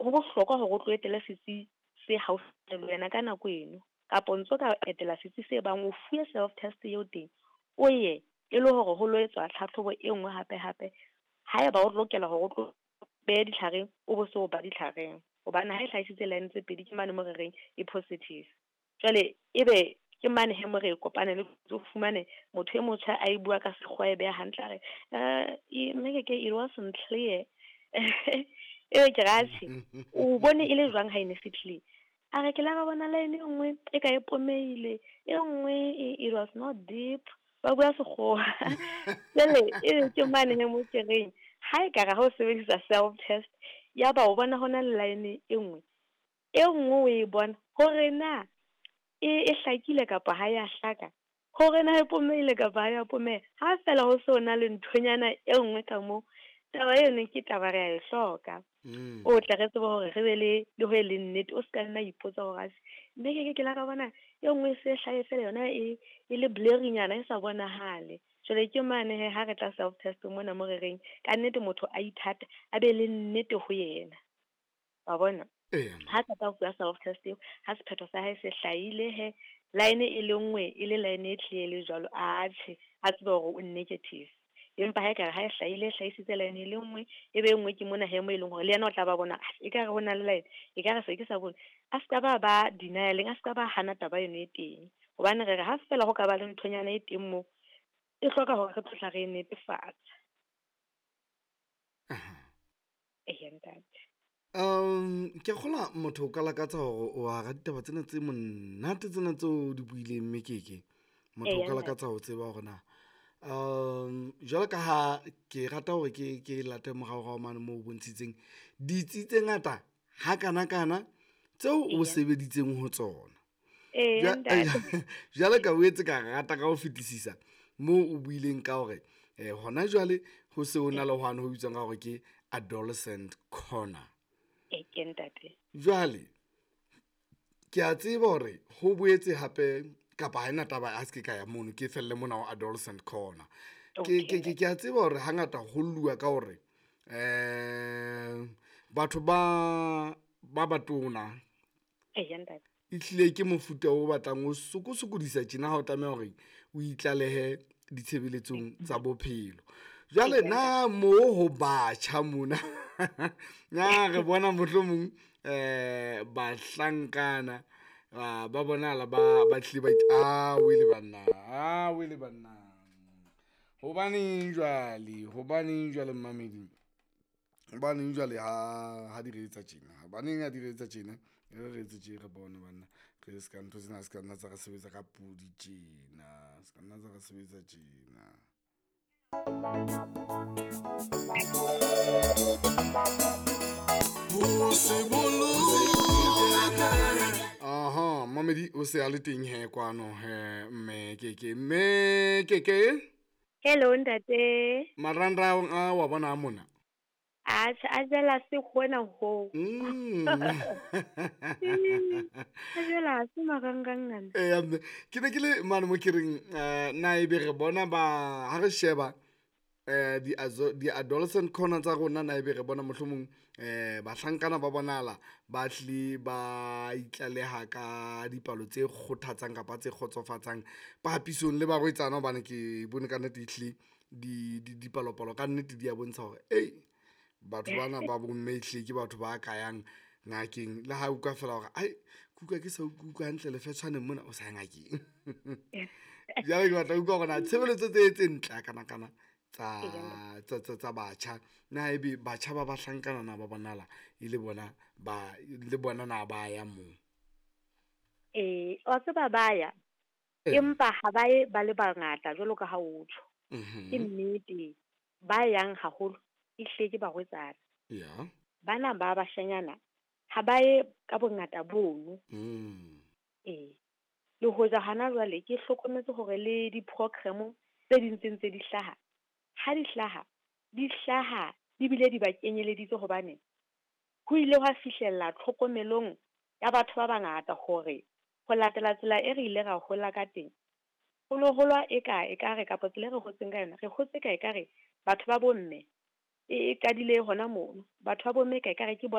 Ho bohlokwa hore o tlo etele setsi se haufi le wena ka nako eno, kapa o ntso ka etela setsi se bang o fuwe self test eo teng, o ye e le hore ho lo etswa tlhatlhobo e nngwe hape hape. Haeba o lokela hore o tlo behe ditlhareng, o bo so ba ditlhareng, hobane ha e hlahisitse line tse pedi ke mane mo re reng e positive. Jwale ebe ke mane he mo re kopane le o fumane motho e motjha a e bua ka sekgowa e beha hantle, a re mme ke it wasn't clear. Ebe ke re atjhe, o bone e le jwang ha e ne se clear? A re ke la ra bona line e nngwe e ka e pomeile, e nngwe it was not deep. Ba bua sekgowa. Jwale ebe ke mane he mo ke reng ha e ka re ha o sebedisa self test ya ba o bona hona le line e nngwe, e nngwe o e bona hore na e hlakile kapa ha ya hlaka, hore na e pomeile kapa ha ya pomeha. Ha fela ho so na le nthonyana e nngwe ka moo, taba eno ke taba re a e hloka. O tle re tsebe hore re be le ho e leng nnete, o ska nna ipotsa hore atjhe mme ke la ka bona e nngwe e se hlahe fela yona e le blurry-nyana e sa bonahale. Jwale ke mane he ha re tla self test mona mo re reng ka nnete motho a ithate, a be le nnete ho yena. Wa bona? Ha qeta ho fuwa self test eo, ha sephetho sa hae se hlahile he, line e le nngwe e le line e clear le jwalo, atjhe a tsebe hore o negative. Empa ha ekare ha e hlahile, hlahisitse line e le nngwe, e be e nngwe ke mona he mo e leng hore le yena o tla ba bona ekare ho na le line, ekare se ke sa bone. A ska ba denial-eng, a ska ba hana taba eno e teng. Hobane re re ha fela ho ka ba le nthonyana e teng moo, e hloka hore re tlo tla re netefatsa. Eya ntate. Ke kgola motho o ka lakatsa hore o hara ditaba tsena tse monate tsena tseo di buileng mme keke. Motho o ka lakatsa ho tseba hore na jwalo ka ha ke rata hore ke late moraorao mane moo o bontshitseng ditsi tse ngata ha kana kana tseo o sebeditseng ho tsona. Jwale ka boetse ka rata ka ho fetisisa moo o buileng ka hore hona jwale ho se ho na le hwane ho bitswang ka hore ke adolescent corner. Ke ntate. Jwale ke a tseba hore ho boetse hape kapa ha ena taba a se ke ka ya mono, ke felle mona ho adolescent corner. Ke a tseba hore hangata ho lluwa ka hore batho ba batona ehlile ke mofuta o batlang o sokosokodisa tjena ha o tlameha hore o itlalehe ditshebeletsong tsa bophelo. Jwale na mo ho batjha mona na re bona mohlomong bahlankana ba bonahala ba hlile ba a wele banna, a wele banna. Hobaneng jwale mmamedi? Hobaneng jwale ha di re etsa tjena? Hobaneng ha di re etsa tjena? Re etse tje re bone banna. Re ska ntho tsena se ka nna tsa re sebetsa ka pudi tjena. Se ka nna tsa re sebetsa tjena. Aha, mamedi o se a le teng he kwano he mme keke. Mme keke. Hello ntate. Marangrang a wa bona mona. Atjhe, a jela se hona ho. A jela se marangrang ana. Mme ke ne ke le mane mo ke reng na ebe re bona ba ha re sheba di adolescent corner tsa rona, na ebe re bona mohlomong bahlankana ba bonahala ba hlile ba itlaleha ka dipalo tse kgothatsang kapa tse kgotsofatsang papisong le barwetsana, hobane ke bone ka nnete ehlile dipalopalo ka nnete di a bontsha hore ei batho bana ba bomme ehlile ke batho ba ka yang ngakeng. Le ha utlwa fela hore ai ke utlwa ke sa utlwa hantle lefetshwaneng mona, o sa ya ngakeng. Jwale ke batla utlwa hore na tshebeletso tse ntle kana kana tsa batjha, na ebe batjha ba bahlankana na ba bonahala e le bona ba le bona na ba ya moo? Wa tseba ba ya, empa ha ba ye ba le bangata jwalo ka ha o tjho. Ke nnete ba yang haholo ehlile ke barwetsana. Bana ba bashanyana ha ba ye ka bongata bono. Le hoja hana jwale ke hlokometse hore le di-program tse ding tse ntse di hlaha, ha di hlaha, di hlaha di bile di ba kenyeleditse, hobane ho ile hwa fihlella tlhokomelong ya batho ba bangata hore ho latela tsela e re ile ra hola ka teng, ho no holwa e ka ekare kapa tsela e re hotseng ka yona, re hotse ka ekare batho ba bomme e qadile hona mono. Batho ba bomme ka ekare ke bona